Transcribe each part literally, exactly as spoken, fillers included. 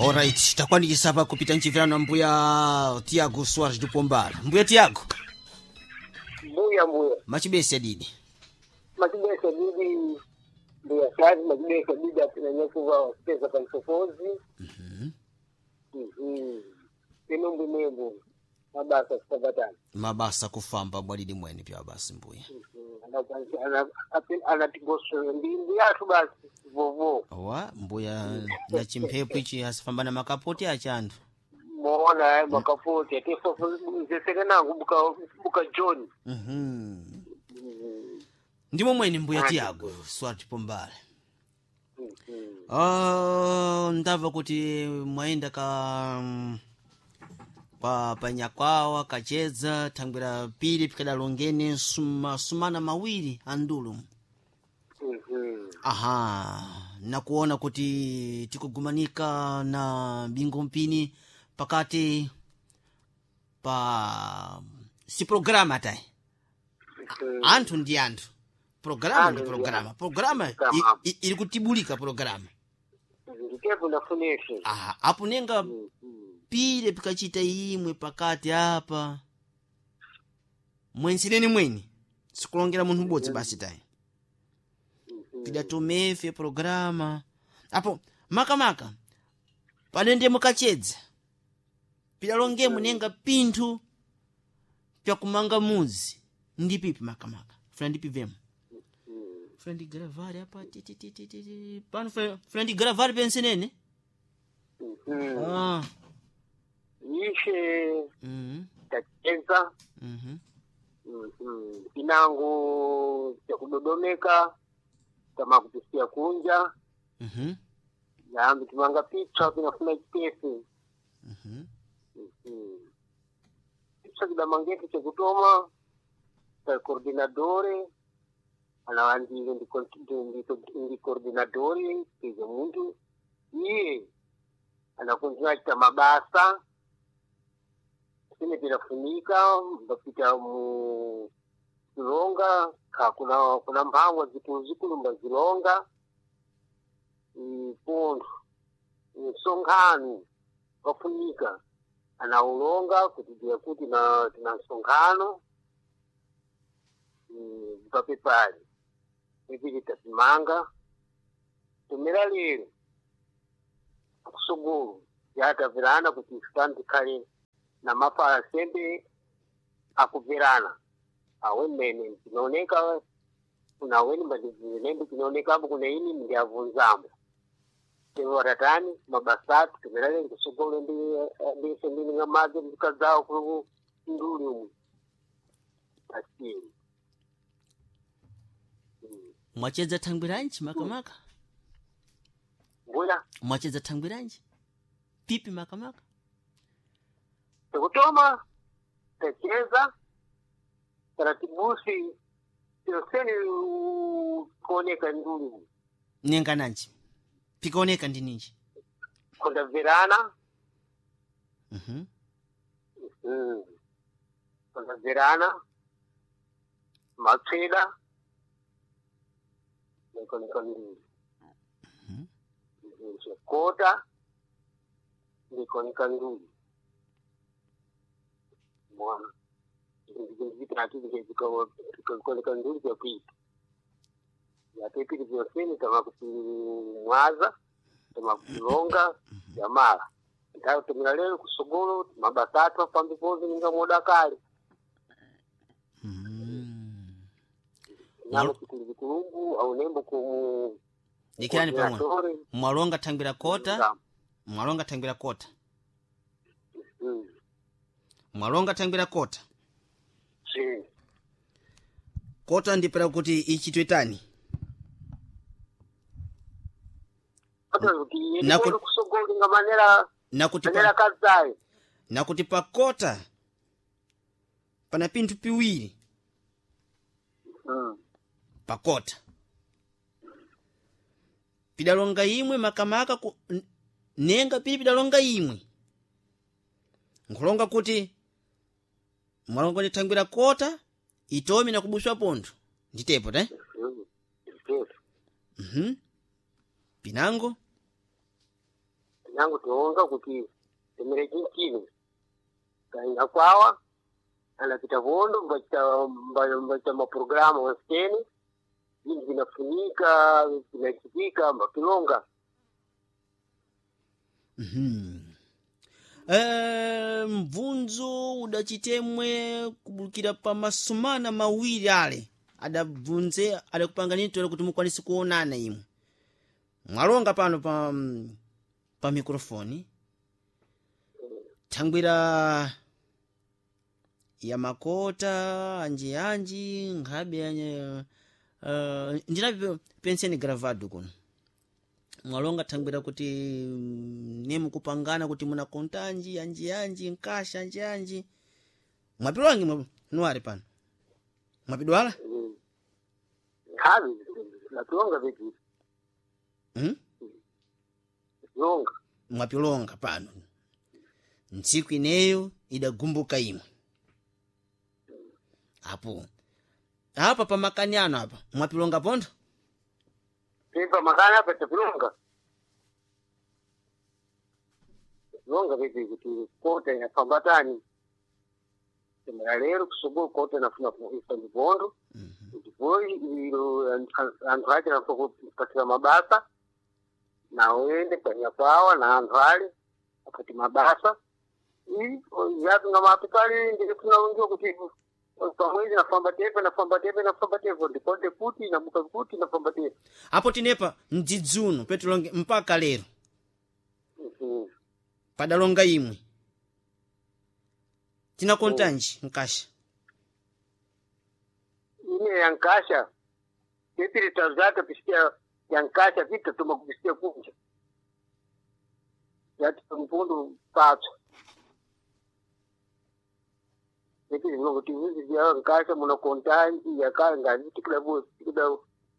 Alright, takwanikisa pa kupita nchimvirano mbuya Tiago Soares de Pombal. Mbuya Tiago, Mbuya mbuya. machibese didi. Machibese didi mbuya sazi machibese didi atinanyakuva wasipeza pansofozi. Mhm. Mhm. Ino mbwimwembu mabasa sipapatana. Mabasa kufamba bwadidi mwene pya basi mbuya. Anatigosera ndi mbuyathu basi vovo. Wa mbuya na chimphepo ichi asifamba na makapoti achanthu. Moona eh, makapoti atefo nangu buka buka John. Mhm. Ndimo mwene mbuya Tiago Soares de Pombal. Mhm. Oh, ndamva kuti mwayenda ka kwa panyakwawa kachedza thangwera pili pikadalongene suma, sumana mawiri andulo. Mhm. Aha, nakuona kuti tikugumanika na bingo mpini pakati pa si programa tayi Mhm. anthu ndi anthu programa ndi Anthu ndi programa programa i- Programa. i- ili kutibulika programa. Nditepo ndafunese. Aha, apo nenga Mhm. pile pikachita imwe pakati apa mwensineni mweni sikulongera munthu ubodzi basi tayi pidatomefe programa apo makamaka panende mukachedza pidalongemo nenga pinthu pyakumanga muzi ndi pipi makamaka funa ndipivemo funa ndigravari apa ti, ti, ti, ti, ti, ti. Pano funa funa ndigravari pensenene. Mhm. Ah. Ishe Mhm. tacheza. Mhm. Mhm. Pinango chakudodomeka kama kupisia kunja Mhm. yambi timanga pitswa pinafuna chitese. Mhm. Mhm. Pitswa kidamangeti chakutoma ta coordinadore anawandile ndi ndi- ndi coordinadore tize muntu iye anakunzina chita mabasa sine pinafunika mbapita mu zilonga ka kuna kuna mphangwa zikulu zikulu mbazilonga pontho msonkhano wafunika anaulonga kutidia kuti na tina msonkhano mm, papepali ipili tatimanga tumira lero kusugulu yatapirana kuti ifutani tikhale na mafala sembe akupirana awe mmene tinaoneka kuna weni mbadinembe tinaonekapo kuna ini ndiavunzamo tewaratani mabasatu tumirale kusugulu ndi ndise ndini ngamazi mkadzawo ku nduli umu asini. Mwachedza thangwiranji makamaka? Mbuya. Mwachedza thangwiranji pipi makamaka? Tekutoma techeza taratibusi yoseni kuoneka nduli umu. Nenga nanji pikaoneka ndi ninji? Kundabvirana. Mhm. Mm. Kundabvirana matsweda nekoneka nduli chekota ndikoneka nduli mwana vitatu vikoneka nduli vyakuita vyatepili vyoseni tama kutimwaza tama kutilonga vyamala tumira lero kusogolo mabasatu pambi pozi ninga moda kale. Mhm. Namo chikulu chikulungu au nembo kumu Dikirani pamwe. coordinatore. Mwalonga thangwira kota, mwalonga thangwira kota. Mm. Mwalonga thangwira kota. Si. Kota ndipera kuti ichitwetani. Kota kuti Naku- yeni kusogolo nga manera Nakuti manera pa, kazayi. nakuti pa kota pana pinthu piwiri Mm. pakota. Pidalonga imwe makamaka ku, n- nenga pili pidalonga imwe. Nkulonga kuti mwalonga ndithangwira kota itomi nakubuswa pontho nditepo te. Mm. Yes. Mhm. Pinango. Nango Nangu tionga kuti temere chinchini kainga kwawa anapita vondo mbachita mba- mbachita maprograma wasiteni vintu vinafunika vinachitika mbapilonga. Mhm. Eh, mvunzo udachitemwe kubulukira pa masumana mawiri ale adabvunze adakupangani tole kuti mukwanise kuonana imwe mwalonga pano pa pa mikrofoni thangwira ya makota anji anji nkhabe anye uh, ndinapi penseni gravado kuno mwalonga thangwira kuti mm, nemukupangana kuti munakonta anji anji anji nkasha anji anji mwapilwangi mwa nuwari pano mwapidwala Mm. Nkhavi napilonga vipi mm? longa. Mwapilonga pano ntsiku ineyo idagumbuka imwe apo apa pamakani ano apa mwapilonga pontho. Pipa makana apa tapilonga longa vipi kuti kota inafambatani temera lero kusogolo kota inafuna kuisa mivondo ndipo ilo anthu ache nafa kupatira mabasa nawende panyapawa na anthu ale apati mabasa yatunga mapikali ndikunaungiwa kuti pamwezi nafamba tepe nafamba tepe nafamba tepe ndikonde kuti nabuka kuti nafamba tepe. Apo tinepa mdzidzuno petulonge mpaka lero Mhm. padalonga imwe tinakontanji nkasha. Ine yankasha tepiri tazata pisikia yankasha vita tuma kupisikia kunja yati mpundu patswa tepiri kuti izi yankasha munakontanji yakale ngazi tikida tikida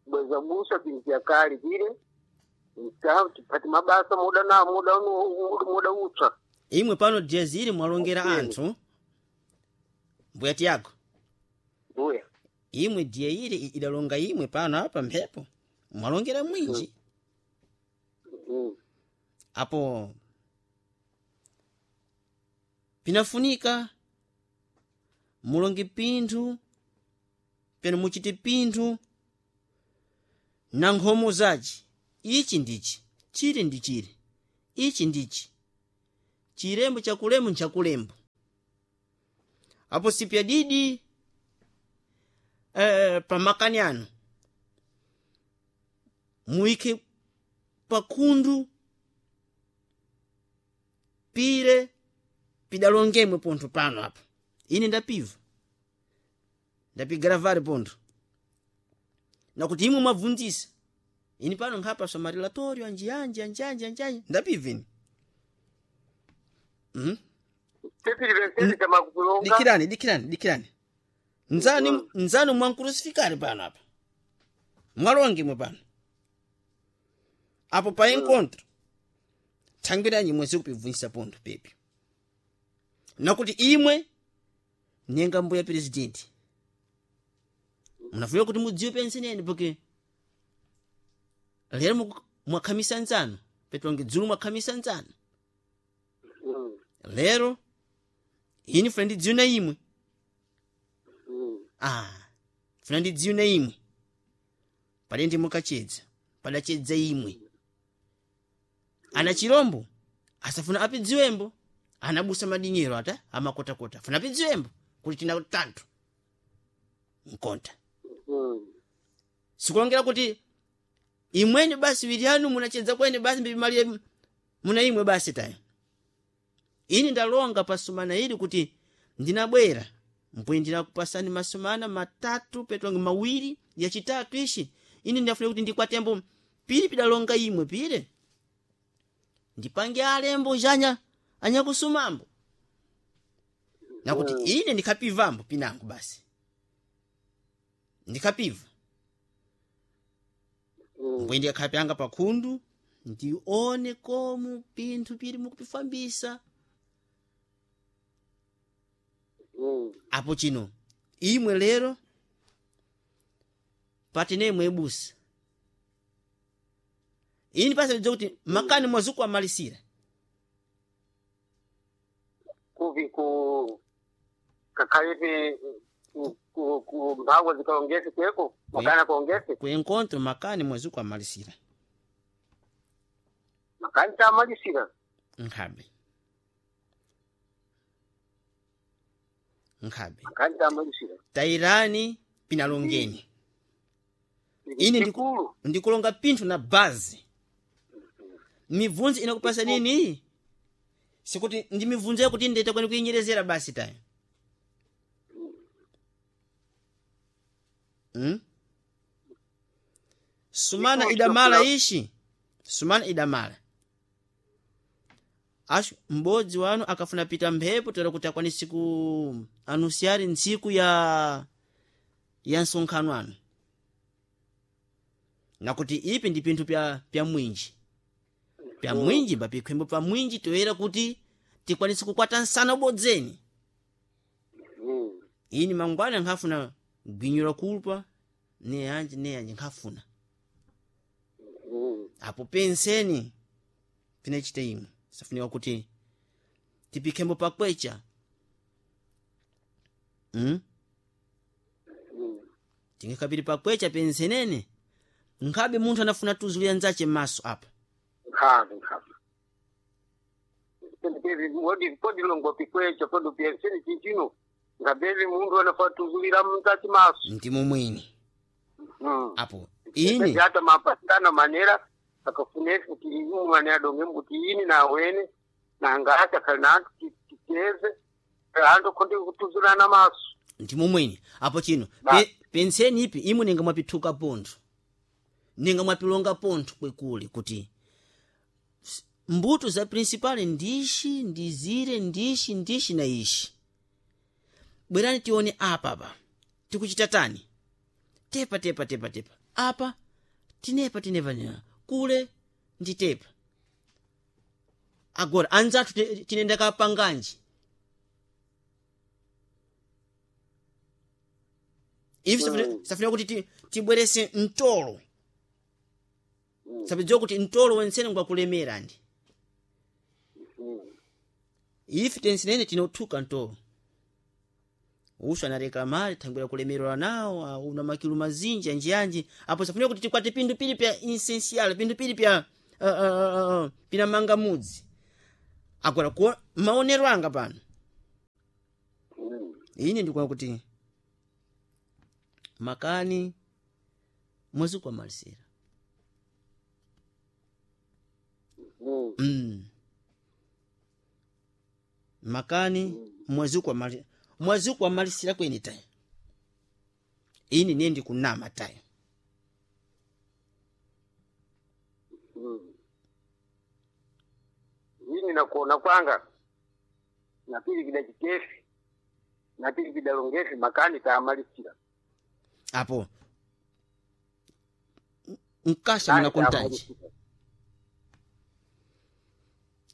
bweza busa binti yakale vile tipati mabasa muda na muda unu- muda utswa. Imwe pano diaziri mwalongera Okay. anthu mbuya tiyako. Mbuya. Imwe diye ili idalonga imwe pano apa mphepo mwalongera mwinji. Mm. Apo pinafunika mulonge pinthu peno muchite pinthu na nkhomo zaci ichi ndichi chili ndi chili ichi ndichi chilembo chakulembo nchakulembo apo sipyadidi eh, pamakani ano muyike pakhundu pire pidalongemwe pontho pano apa ine ndapiva ndapigaravale pontho nakuti imwe mwabvunzisa ini pano nkhapa swa anji anji anji anji anji anji ndapiva ine mm? Tepiri vensezi tamakulonga. Dikirani, dikirani, dikirani nzani nzani mwankurusifikari pano apa mwalongemwe pano apo pa encontro thangwiranyi imwe zikupibvunzisa pontho pepi nakuti imwe nenga mbuya presidenti munafunika kuti mudziwe penseneni porque lero muku- mwakhamisa nzanu petonge dzulo mwakhamisa nzanu. Mm. Lero ini funa ndidziwe na imwe. Mm. Ah, funa ndidziwe na imwe pali ndi mukachedza padachedza imwe ana chirombo asafuna apidziwembo anabusa madinyero ata amakotakota funa apidziwembo kuti tina tanthu nkonta. Mm. Sikulongera kuti imweni basi wili anu munachedza kwene basi mbimalire muna imwe basi tayo ini ndalonga pasumana ili kuti ndinabwera mpwe ndinakupasani masumana matatu petonge mawiri yachitatu ishi ini ndinafuna kuti ndikwatembo pili pidalonga imwe pile ndipange alembo janya anyakusumambo nakuti ine ndikhapivambo pinango basi ndikhapiva. Mm. Mbwe ndikhapyanga pakhundu ndione komu pinthu pili mukupifambisa. Mm. Apo chino imwe lero patine imwe ibusa ini pasa kuti makani mwazuku amalisira. Kuvi ku kakhalepe ku- ku- ku mphawa zikaongese kweko makani akaongese Ku encontro makani mwezi kwamalisira. Makani tamalisira. Nkhabe. Nkhabe. Makani tamalisira. Tairani pinalongeni. Ine ndiku- Ndikulu. Ndikulonga pinthu na bazi. Mibvunzo inakupasa nini? Sikuti ndi mibvunzo yakuti ndeta kwani kuinyerezera basi tayo. Hmm? Sumana Ndikulu idamala chokula- ishi. Sumana idamala. Ashu m'bodzi wanu akafuna pita mphepo toera kuti akwanisi ku anusiari ntsiku ya ya nsonkhano anu. Nakuti ipi ndi pinthu pya pya mwinji. Pya mwinji mbapikhwembo pa mwinji toera kuti tikwanise kukwata nsana ubodzeni. Mm. Ini mangwana nkhafuna gwinyo la kulpa ne yanji ne yanji nkhafuna. Mm. Apo penseni pinachita imwe safunika kuti tipikhembo pakwecha. Mm? Mm. Tingakapiri pakwecha pensenene nkhabe munthu anafuna tuzulira nzache m'maso apa. Nkhabe nkhabe. Pendekevi wodi kodi longo pikwecha kodi penseni chinchino ngabeli mundu anafatuzulira mtati maso. Ndimo mwini Mm. apo ini Ata mapatana manera akafunesi kuti umane adonge kuti ini na wene na ngati akhali titeze antu konde kutuzulana maso. Ndimo mwini apo chino. Ba. Pe, penseni ipi imwe ninga mwapithuka pontho ninga mwapilonga pontho kwekule kuti s- mbuto za principal ndishi ndizire ndishi ndishi na ishi. Bwerani tione apa apa tikuchita tani tepa tepa tepa tepa apa tinepa tinepa tinepa. Kule ndi tepa agora anzathu ti- tinenda kapanganji ivi. Mm. Safunika kuti ti- tibwerese mtolo. Mm. Sapidziwa kuti mtolo wensene ngwakulemera ndi Mm. ife tensenene tinothuka mtolo usu anareklamali thangwera kulemerera nawo ah, una makilu mazinji anjianji apo safunika kuti tikwate pindu pili pya essential pindu pili pya uh, uh, uh, pinamanga mudzi agora kuo maonero anga pano. Mm. Ine ndikuona kuti makani mwezi kwamalisira. Mm. Mm. Makani mwezi kwamali mwezi kwamalisira kweni tayo ini niye ndikunama tayo. Mm. Ini nakuona kwanga napili vida chitefi napili vida longefi makani taamalisira. Apo nkasha muna kontanji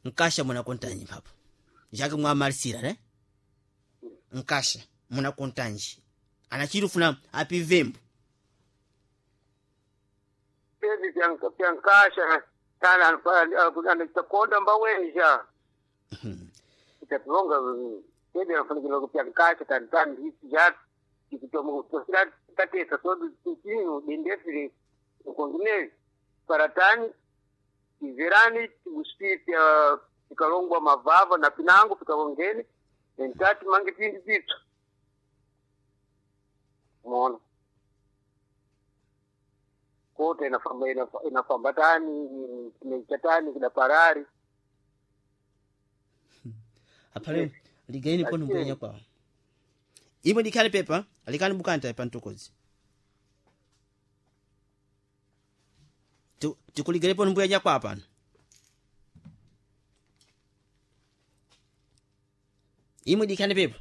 nkasha muna kontanji papo jake mwamalisira ne nkasha muna kontanji anachirufuna apivembo. Pevi pyankasha kana anachakonda mbawenja itapilonga pevi anafanikila pyankasha tanitani ja ikutosira tatesa sodu chinu dendefile ukongineli paratani tiverani tigusi pya pikalongwa mavava na pinango pikalongene entati mange pindi pipsa mona kota inafamba inafa- inafambatani kinechatani kidaparari. Aphale ligaini pano mbwenya kwawo imwe likhale pepa likani bukanta pa ntokozi. Tikuligale pano mbwenya kwa pano imwe likhale pepa.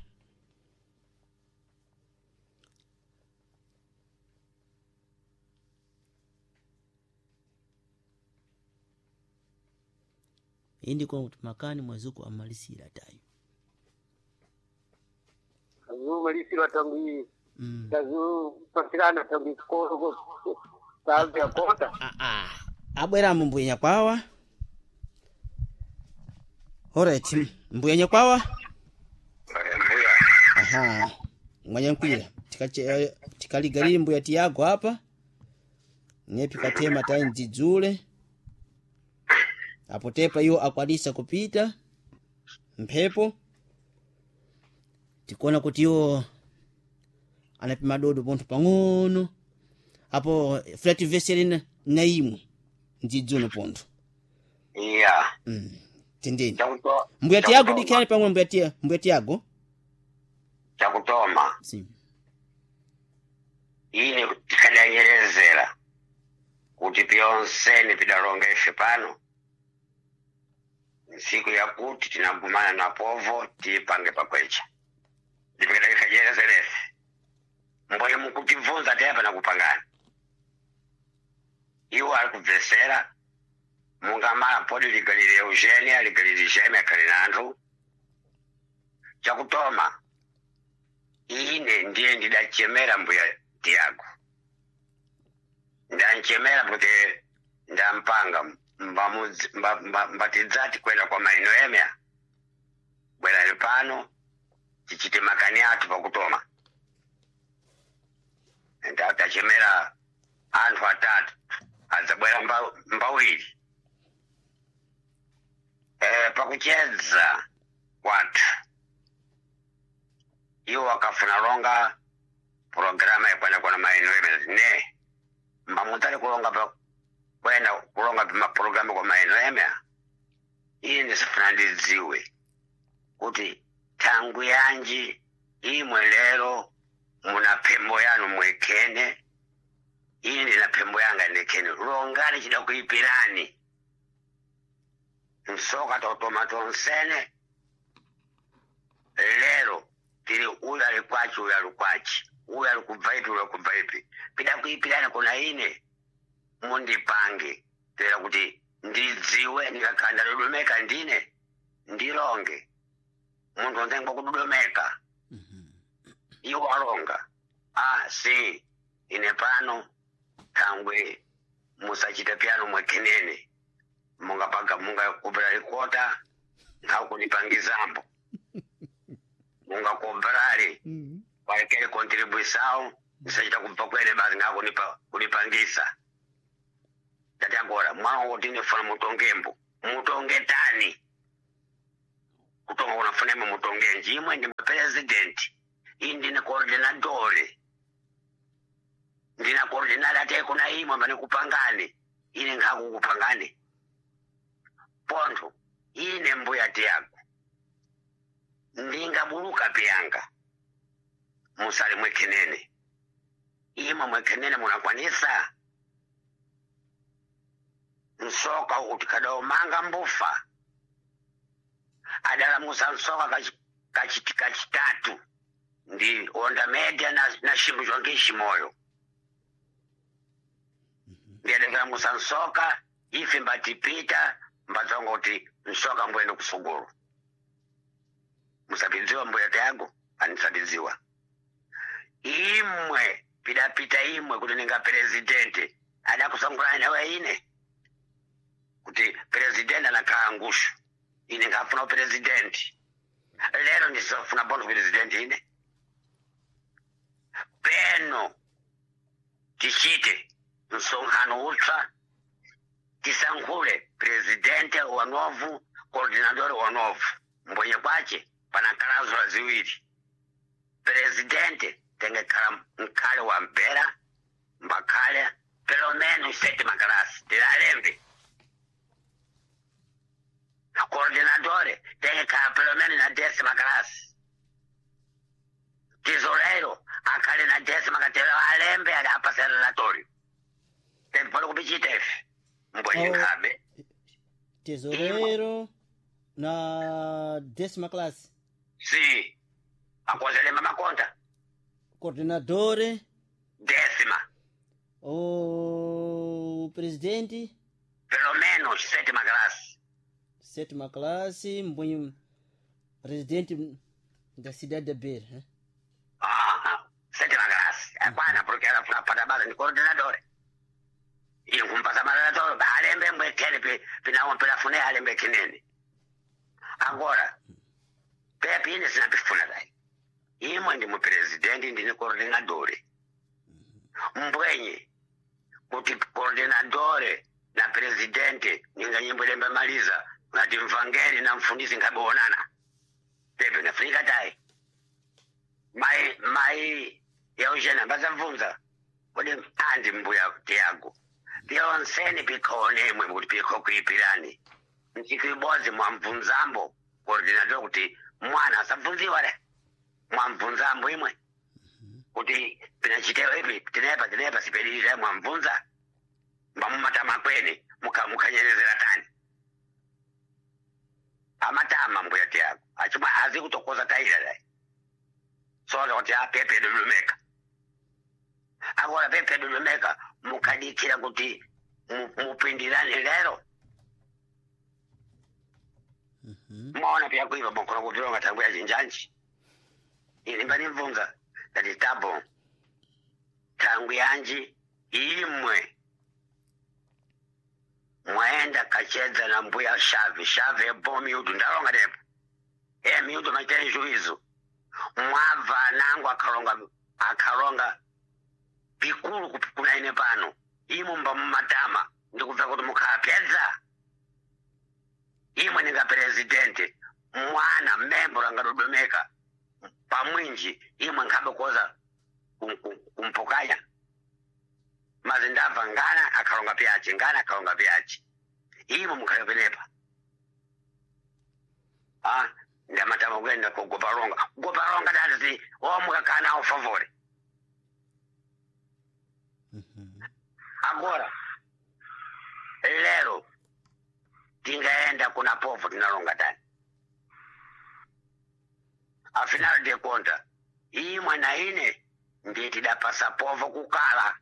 Indi kwa kuti makani mwezuku amalisira tayo. Azumalisirwa tangu mm. tazupasirana tangu ikoro tazi kota. Ah, ah. Abweramo mbwenya kwawa. Alright, mbwenya kwawa. Aha, mwanyankwira tikache tikaligalili mbuya Tiago apa nepi katema tayi mdzidzule apo tepa iwo akwanisa kupita mphepo tikuona kuti iwo anapima dodo pontho pang'ono apo flat vesele na, na imwe mdzidzulo pontho. Iya. Mm. Tendeni Chakuto mbuya Tiago chakutoma. dikhani pang'ono mbuya Tia- mbuya Tiago. Chakutoma. Sim. Ine tikadanyerezera kuti pyonsene pidalonga ife pano nsiku yakuti tinagumana na povo tipange pakwecha ndipikadakikajerezerefe mboye mukutibvunza teapa nakupangana iwo ali kubvesera mungamala podi ligalile Eugenia ligalile Jeme akhali nanthu. Chakutoma ine ndiye ndidachemera mbuya Tiago, ndanchemera kuti ndampanga mbamudzi- mba- mba- mbatidzati kwenda kwa maino emya bwerani pano tichite makani athu pakutoma. Ndatachemera anthu atatu adzabwera mba- mbawiri e, pakuchedza kwathu iwo akafuna longa programa yakwenda kwana maino emya ne mbamutali kulonga pa kwenda kulonga pamaprogramu kwa maino emya. Ine ndisifuna ndidziwe kuti thangu yanji imwe lero muna phembo yanu mwekene, ine ndina phembo yanga ndekene, longani chida kuipirani nsoka totoma tonsene lero tili uyu ali kwachi uyu ali kwachi uyu ali kubva ipi uyu ali kubva ipi pida kuipirani kuna ine mundipange tera kuti ndidziwe ndikakhala ndadodomeka ndine ndilonge munthu onse kudodomeka iwo alonga a si ine pano thangwe musachite pyano mwekhenene mungapanga mungakopera likota nkhakundipangizambo mungakoperali Mm. walekele contribuição ndisachita kubva kwene basi ngakunipa kunipangisa. Tati agora mwana woti ndifuna mutongembo mutonge tani kutonga kunafuna imwe mutonge njimwe ndi president iyi ndine coordinatore ndina coordinate ate kuna imwe mane kupangani ine nkhakukupangani pontho ine mbuya Tiago ndingabuluka piyanga musali mwekhenene imwe mwekhenene munakwanisa nsoka kuti kadaomanga mbufa adalamusa nsoka kachi- kachi- kachitatu ndi onda media na, na ximbu chonke ximoyo ndiyadakalamusa nsoka ife mbatipita mbatsonga kuti nsoka mbwene kusugulu musapidziwa mbuya Tiago anisapidziwa imwe pidapita imwe kuti ninga presidente adakusangulana nawe ine kuti presidente anakhala ngushu ine ngafuna upresidenti lero ndisafuna bono presidente ine peno tichite msonkhano utsva tisankhule presidente wa novu coordinador wa novu mbwenye kwache panakhala ziwiri presidente tengekhala mkhale wa mpera mbakhale pelo menos sétima classe tilalembe coordinadore tengekhala pelo menos na décima classe tesoureiro akhale na décima katelo alembe ali apasa relatório tempolo kupichita ife mbwenye Oh. nkhabe Tesoureiro na décima classe si akozelemba makonta coordenadore décima o presidente pelo menos sétima classe sétima classe mbwenye presidente da cidade da Beira, né? Ah, sétima classe akwana porque ela funa pata basa ni coordinador inkumpasa marelatório alembe mbwekene pinawo pilafune alembe kinene agora pepi ine sinapifuna dai Imwe ndi mupresidenti, ndine coordinadore. Mbwenye kuti coordinadore na presidente ninga nyimbo ilemba maliza ngati mvangeli na mfundisi ngaboonana pepe nafunika tayi mai mai Eugenia mbazabvunza kuti andi mbuya Tiago pyonseni pikhonemwe kuti pikho kuipirani ntsiku ibodzi mwamvunzambo coordinador kuti mwana asabvunziwa le mwamvunzambo imwe kuti pinachitewa ipi tinepa tinepa sipelilira mwamvunza mbamumatama kwene mukanyerezera tani amatama mbuya Tiago achimwa azi kutokoza taila dai soza kuti apepe dudumeka agora pepe dudumeka mukadikira kuti mupindirane lero. Mwaona pya kuiva mwakhona kuvilonga thangu ya chinjanji ini mbanimvunza ndati tabo thangu yanji imwe mwaenda kachedza na mbuya shavi shavi ebo miudu ndalonga depo e miudu maitenjuizo mwabva nangu akalonga akalonga pikulu kuna ine pano imwe mba mumatama ndikubva kuti mukhapedza imwe ninga presidente mwana membro angadodomeka pamwinji imwe nkhabe koza kumpukanya mazi ndabva ngana akalonga pyachi ngana akalonga pyachi imwe mukhale penepa ah ndamatama kuenda kugoparonga goparonga tati omukakana aufavore. Agora lero tingaenda kuna povo tinalonga tani afinal de conta imwe na ine ndiye tidapasa povo kukala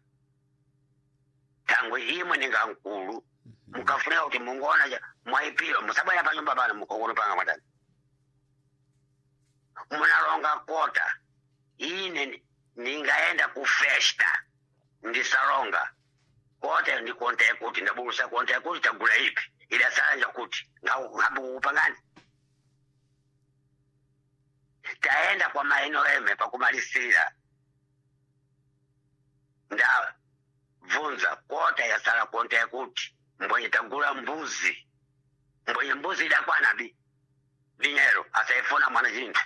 tangu imwe ninga nkulu mukafunika kuti mungoona mwaipiro musabwera panyumba pano mukongolo panga mwatani munalonga kota ine ningaenda kufesta ndisalonga kote ndikonta kuti ndabulusa konta kuti tagula ipi idasala kuti ngabukupangani taenda kwa maeno eme pakumalisira ndabvunza kota yasala konta yakuti mbwenye tagula mbuzi mbwenye mbuzi idakwana bi vinyero asaifuna mwana chinthu.